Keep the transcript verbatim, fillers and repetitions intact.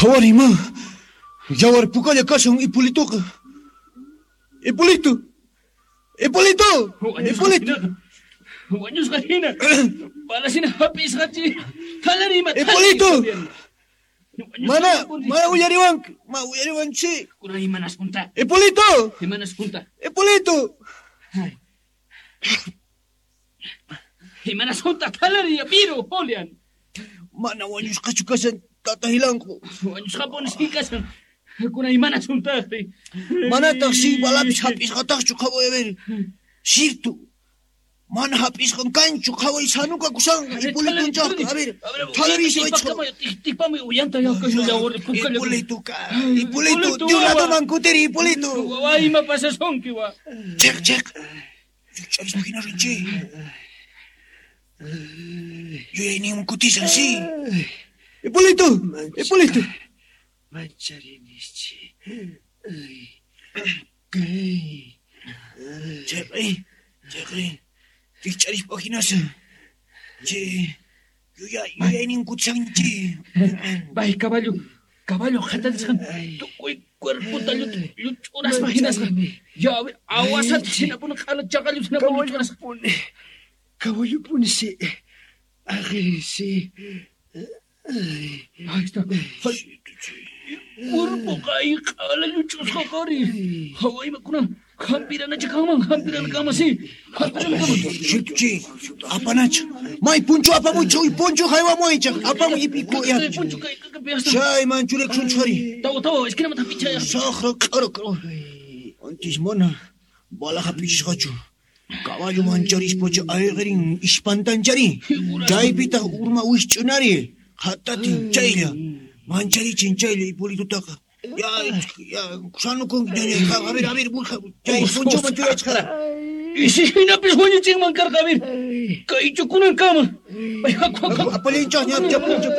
Qhawariy ma. Yawar pukalla kashan Hipolitoqa. Hipolito. Hipolito. Hipolito. Wañusqa hina. Balasina hap'isqachi. Thalari ima. Hipolito. Mana, mana uyariwanki. Ma uyariwanchi. Kunan imanasqunta. Hipolito. Imanasqunta. Hipolito. Imanasqunta thalari piru, Julian. Mana wañusqachu kashan tata Hilanqu. Wañusqapunis kashan. Kunan imanasuntaqri. Manataq si balapis hap'isqataqchu qhaway a ver. Sirtu. Mana hap'isqan kanchu qhaway sanuka kusanqa Hipolitonchaqqa a ver. Thalari siwaychqa. Tikpamuy uyanta yaqashan yawar pukalla. Hipolito ka. Hipolito, Dios ladoman kutiri Hipolito. Wawa ima pasasunki wa. Cheq cheq. Rikch'arispa hina rinchi. Yuyayninman kutisan si. Hipolito, Hipolito. Mancharinichi. Kay. Cheqi, cheqi. Rikch'arispa hinasan. Che, yuyay, yuyaynin kutisanchi. Bay caballo, caballo qhatarisqan tukuy cuerpota lluch'uraspa hinasqa. Ya, awasata hinapuni q'ala chaqallu hinapuni lluch'urasqa. Caballopuni si. Aqiri si. Ahí está. Cuerpo kay q'ala lluch'usqa qari. Hawa imakuna hampiranacha kanman, hampirana kanman si. Hampirana kanman. Chi, apanacha. May punchu apamuychaq, uy punchu haywamuychaq. Apamuy ipiku ya. Punchu kay kay hasta. Chay manchurek sunchari. Tawa tawa esquinamanta pichaya. Saqra q'ara q'ara. Antis mana bala hap'ichisqachu. Caballo mancharispacha ayqirin ispantanchari. Chaypitaq urma wisch'unari. Qhatatin chaylla. Mancharichin chaylla Hipolitotaqa. Ya, ya, sanukunki ñañay. A ver, a ver, chay punchuman churachqara. Isi hinapis wañuchinman karqa, a ver. Kaychu kunan kama. Ay, haku, haku. Apallinchaq ña, punchu.